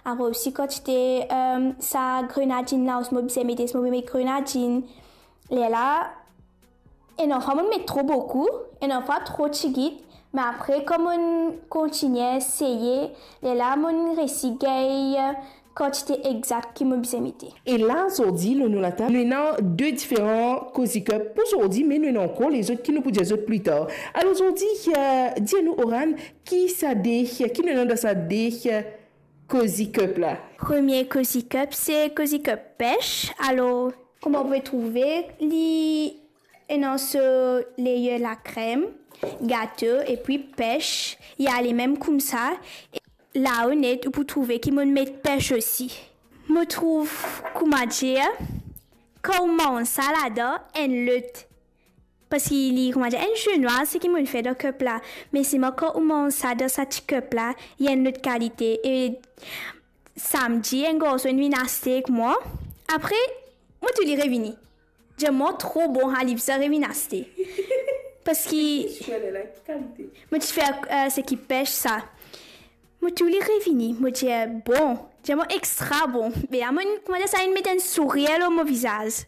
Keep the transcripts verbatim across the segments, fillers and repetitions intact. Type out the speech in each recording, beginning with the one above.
Apre osi kantite, eh, sa grenadinn la, osi mo bizin mete, si mo pe met grenadinn. Lerla, enn fwa mo met tro boukou, enn fwa tro tigit, me apre, kan mo kontigne eseye, lerla mo resi gagn kantite egzak ki mo bizin mete. E la, zordi, lor nou latab, nou ena de diferan Cozy Cup pou zordi, me nou ena ankor lezot ki nou pou dir zot pli tar. Alor, zordi, eh, dir nou, Oran, ki sa de, ki nou ena dan sa de, eh, Cozy Cup la? Premie Cozy Cup, se Cozy Cup pes. Alor, kouma ou pe trouve, li ena so layer lakrem, gato, epi pes, li ale mem koumsa. E lao net, ou pou trouve ki mo met pes osi. Mo trouv, kouma dir, kan ou manz sa ladan, enn lot, parski li, kouma dir, enn jeu nwar, seki mo fer dan cup la. Me selman kan ou manz sa dan sa ti cup la, li enn lot kalite. E samdi, enn garson inn vinn aste ek mwa. Apre, mo tou li revini. Dir mwa tro bon, ha, li bizin revinn aste. Parski mo ti fer, eh, seki pes sa. Mo tou li revini, mo dir, "Bon." Dir mwa extra bon. Be la, mo, kouma dir, sa inn met enn sourir lor mo vizaz.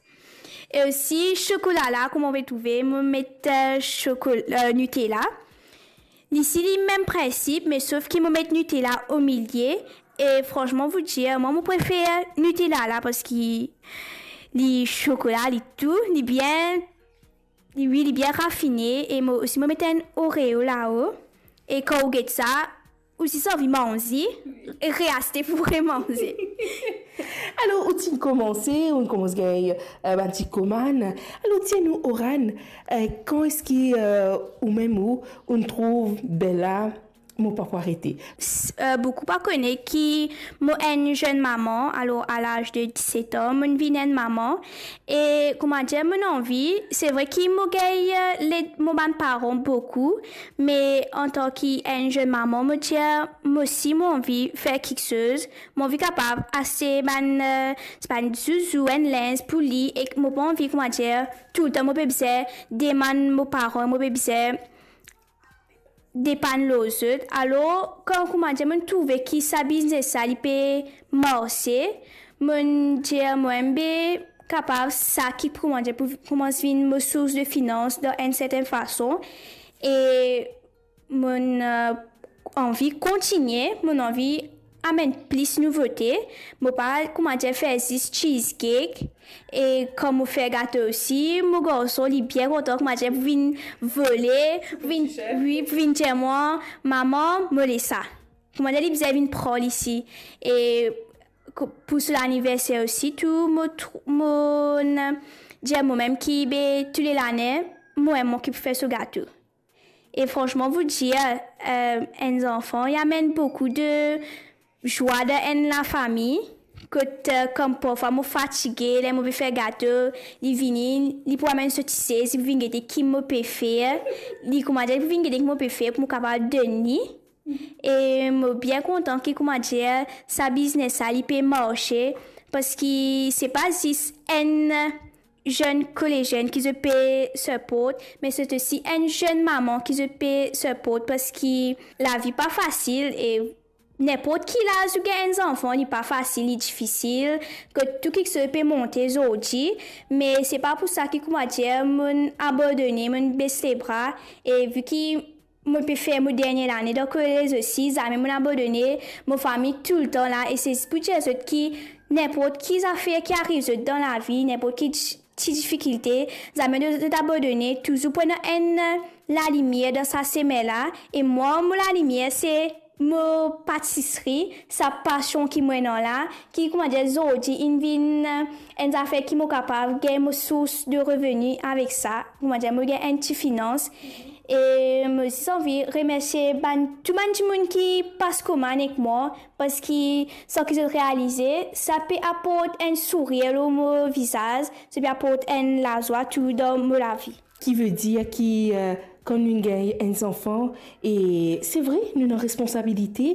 E osi, sokola la, kouma ou pe trouve, mo met, eh, sokol-, eh, Nutella. Li si li mem prinsip, me sof ki mo met Nutella omilie, e fransman, vous dire, mwa, mo prefer Nutella la, parski li sokola, li tou, li bien, li, wi, li bien rafine, e mo osi, mo met enn Oreo lao, e kan ou get sa, ou si anvi manze, e reaste pou remanze. Alor, ou ti komanse, ou koumans gagn, eh, bann ti komann. Alor, dir nou, Oran, eh, kan eski, eh, ou mem ou, ou trouv, be la, mo pa pou arete? S-, eh, boukou pa kone ki mo enn zenn mama, alor, a laz de diset an, mo vinn enn mama. E, kouma dir, mo anvi, se vre ki mo gagn, eh, led mo bann paran boukou, me antan ki enn zenn mama, mo dir, mo osi, mo anvi fer kiksoz, mo anvi kapav aste bann, eh, bann zouzou, enn linz pou li, e mo pa anvi, kouma dir, toultan mo pe bizin demann mo paran, mo pe bizin depann lor zot. Alor, kan, kouma dir, mo trouve ki sa biznes la, li pe marse, mo dir, mo enn be kapav sa ki, kouma dir, pou koumans vinn mo sours de finans dan enn sertenn fason. E mo, eh, anvi kontigne, mo anvi amenn plis nouvote. Mo pa, kouma dir, fer zis cheesecake. E kan mo fer gato osi, mo garson, li bien kontan, kouma dir, pou vinn vole, pou vinn, wi, pou vinn dir mwa, "Mama, mo le sa." Kouma dir, li bizin vinn pran li si. E ko-, pou so laniverser osi, tou, mo tr-, mo dir momem ki, be, tou le lane, mo enn mwa ki pou fer so gato. E fransman, vous dire, eh, enn zanfan, li amenn boukou de zwa dan enn lafami, kot, eh, kan parfwa mo fatige, ler mo pe fer gato, li vini, li pou amenn so ti sez, li pou vinn gete ki mo pe fer, li, kouma dir, li pou vinn gete ki mo pe fer pou mo kapav donn li. E mo bien kontan ki, kouma dir, sa biznes la, li pe marse, parski se pa zis enn zenn kolezienn ki zot pe siport, me se osi enn zenn mama ki zot pe siport, parski lavi pa fasil, e ninport ki laz ou gagn enn zanfan, li pa fasil, li difisil, kot tou kiksoz pe monte zordi, me se pa pou sa ki, kouma dir, mo abandone, mo bes lebra, e vi ki mo pe fer mo dernie lane dan kolez osi, zame mo abandone, mo fami toultan la, e se pou dir zot ki ninport ki zafer ki ariv zot dan lavi, ninport ki ti, ti difikilte, zame zot abandone, touzour pou ena enn lalimier dan sa semin la, e mwa, mo lalimier se mo patisri, sa pasion ki mo ena la, ki, kouma dir, zordi inn vinn enn zafer ki mo kapav gagn mo sours de reveni avek sa, kouma dir, mo gagn enn ti finans. E mo zis anvi remersie bann, tou bann dimoun ki pas komann ek mwa, parski san ki zot realize, sa pe aport enn sourir lor mo vizaz, sa pe aport enn lazwa tou dan mo lavi. Ki ve dir ki, eh, kan nou gagn enn zanfan, e se vre, nou ena responsabilite,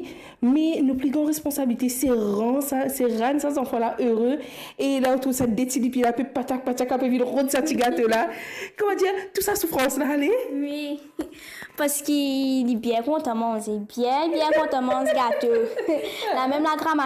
me nou pli gran responsabilite, se rann sa, se rann sa zanfan la ere. E la, ou trouv sa de ti lipie la pe patak, patak, ape vinn rod sa ti gato la. Kouma dir, tou sa soufrans la ale? Wi, parski li bien kontan manze, bien, bien kontan manz gato. La mem lagrama